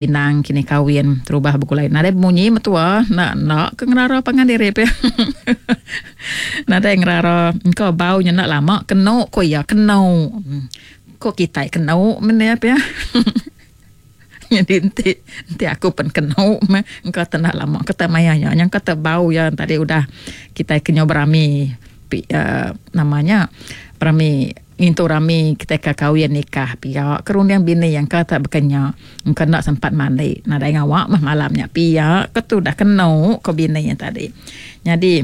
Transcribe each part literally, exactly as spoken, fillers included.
Inang kini kawin terubah begulai nadai bemunyi metua enda enda ke ngerara pangan diri pia. Nadai ngerara engka bau nya enda lama kenu ku iya kenu. Ku kitai kenu meh iya pia. Nyadi enti enti aku pen kenu meh engka te enda lama ke te maya nya nyangka te bau iya tadi udah kitai ke nyau berami uhh nama nya berami ngintu rami kitai ka kawin nikah pia ke runding bini engka te baka nya engka enda sempat mandi nadai ngawa meh malam nya pia ke tudah kenu ko bini tadi. Nyadi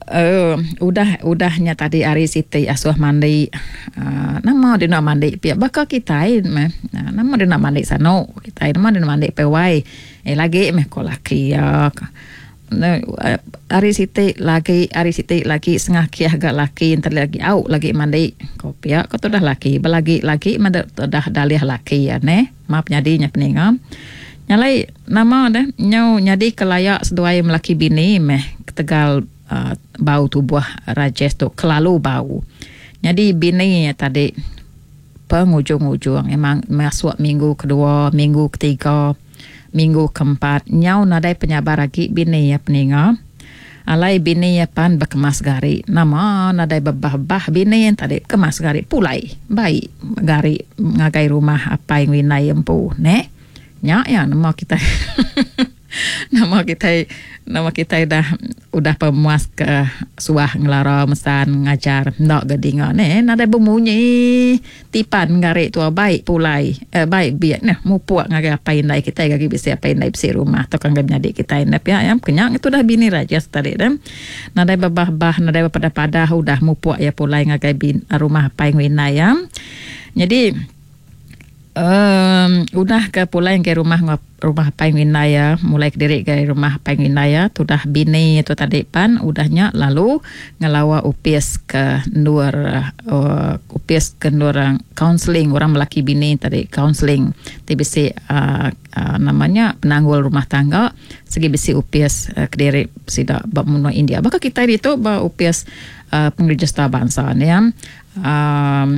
uhh udah udah nya tadi hari siti asuh mandi uhh nama dina mandi pia baka kitai meh nama dina mandi sanu kitai nama dina mandi pai wai eh lagi meh ko laki iya. Hari siti lagi hari siti lagi sengakih ga laki enti lagi au lagi mandi ko pia ko tudah laki belagi lagi meh tudah dalih laki iya neh maap nyadi nya peninga. Nya alai nama deh nyau nyadi ke laya seduai melaki bini meh ketegal uhh bau tubuh Rajesh tu kelalu bau. Nyadi bini iya tadi pengujung-ujung memang masuk minggu kedua minggu ketiga. Minggu keempat, nyau nadai penyabar agi bini iya peninga. Alai bini iya pan bekemas gari. Nama nadai bebah-bebah bini iya tadi bekemas gari pulai bai gari ngagai rumah apai enggau indai iya empu neh. Nya iya nama kitai nama kitai nama kitai dah udah pemuas ke suah ngelara mesan ngajar enda ga dinga neh nadai bemunyi. Tipan ngari tua bai pulai bai biak neh mupuk ngagai apai indai kitai agi bisi apai indai bisi rumah tauka ngagai menyadi kitai enda pia iya ke nya tudah bini raja tadi deh nadai bebah bah nadai bepadah padah udah mupuk iya pulai ngagai rumah apai enggau indai iya nyadi uhh udah ke pulai ngagai rumah enggau rumah apai enggau indai iya mulai kediri ngagai rumah apai enggau indai iya tudah bini tu tadi pan udah nya lalu ngelawa opis ke endur uhh opis ke endur kaunseling orang melaki bini tadi kaunseling ti bisi uhh nama nya penanggul rumah tangga sigi bisi opis kediri sida ba menua India baka kitai ditu ba opis uhh pengerejista bansa ne iya uhh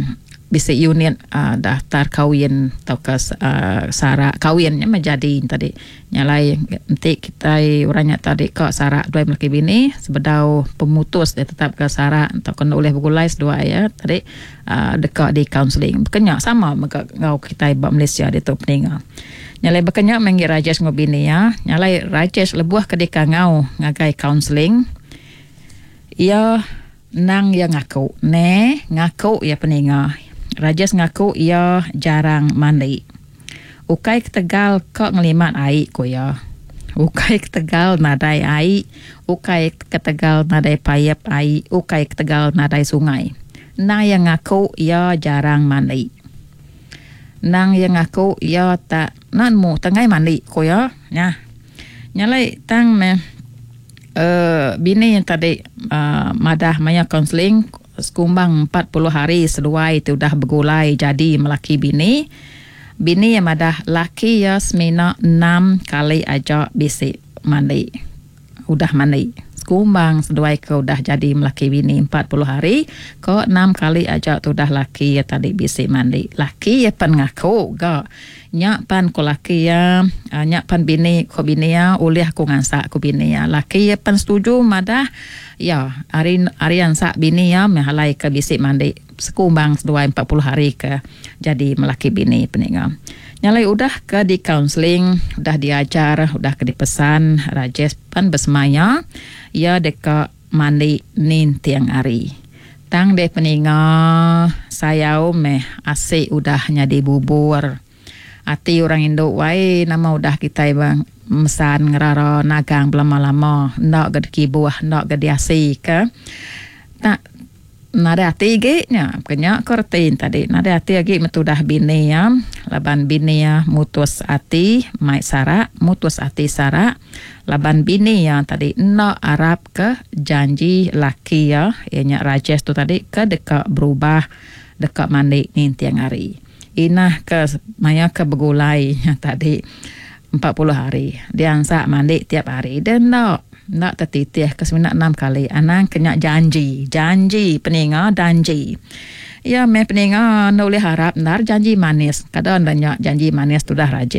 bisi unit uhh daftar kawin tauka uhh sara kawin nya meh jadi tadi. Nya alai enti kitai orang nya tadi ka sara duai melaki bini sebedau pemutus ditetapka sara tauka enda ulih begulai seduai iya tadi uhh deka di kaunseling. Baka nya sama mega enggau kitai ba Malaysia ditu peninga. Nya alai baka nya meh enggi Rajesh enggau bini iya. Nya alai Rajesh lebuh ke dikangau ngagai kaunseling iya Endang iya ngaku. Ne, ngaku iya peninga. Rajesh ngaku iya jarang mandi. Ukai ketegal ka ngelimat ai, ku iya. Ukai ketegal nadai ai, ukai ketegal nadai paip ai, ukai ketegal nadai sungai. Endang iya ngaku iya jarang mandi. Endang iya ngaku iya tak enda nemu tenggai mandi, ku iya. Nyah. Nya alai tang meh. Uhh bini tadi uhh madah maya kaunseling sekumbang empat puluh hari seduai ti udah begulai jadi melaki bini. Bini iya madah laki iya semina enam kali aja bisi mandi udah mandi. Sekumbang seduai ke udah jadi melaki bini empat puluh hari ko enam kali aja tudah laki iya tadi bisi mandi. Laki iya pen ngaku ga. Nya pan ku laki iya, nya pan bini ku bini iya, ulih aku ngansak ku bini iya. Laki iya pan setuju madah iya ari ari ansak bini iya meh alai ke bisi mandi sekumbang seduai empat puluh hari ke jadi melaki bini peninga. Nya alai udah ke di kaunseling, udah diajar, udah ke dipesan Rajesh pan besemaya iya deka mandi ninting hari. Tang deh peninga sayau meh asi udah nyadi bubur. Ati orang indu wai nama udah kitai mesan ngerara nagang belama-lama enda ga dikibuh enda ga diasi ke. Tak nadai ati agi nya ke nya ko reti tadi nadai ati agi meh tudah bini iya laban bini iya mutus ati mai sarak mutus ati sarak. Laban bini iya tadi enda arapka janji laki iya, iya nya Rajesh tu tadi ke deka berubah deka mandi ninting hari. Inah ke maya ke begulai nya tadi empat puluh hari diansak mandi tiap hari deh enda enda tetitih ke semina enam kali anang ke nya janji, janji peninga danji. Ya meh peninga enda ulih harap endar janji manis. Kada enda nya janji manis tudah Rajesh.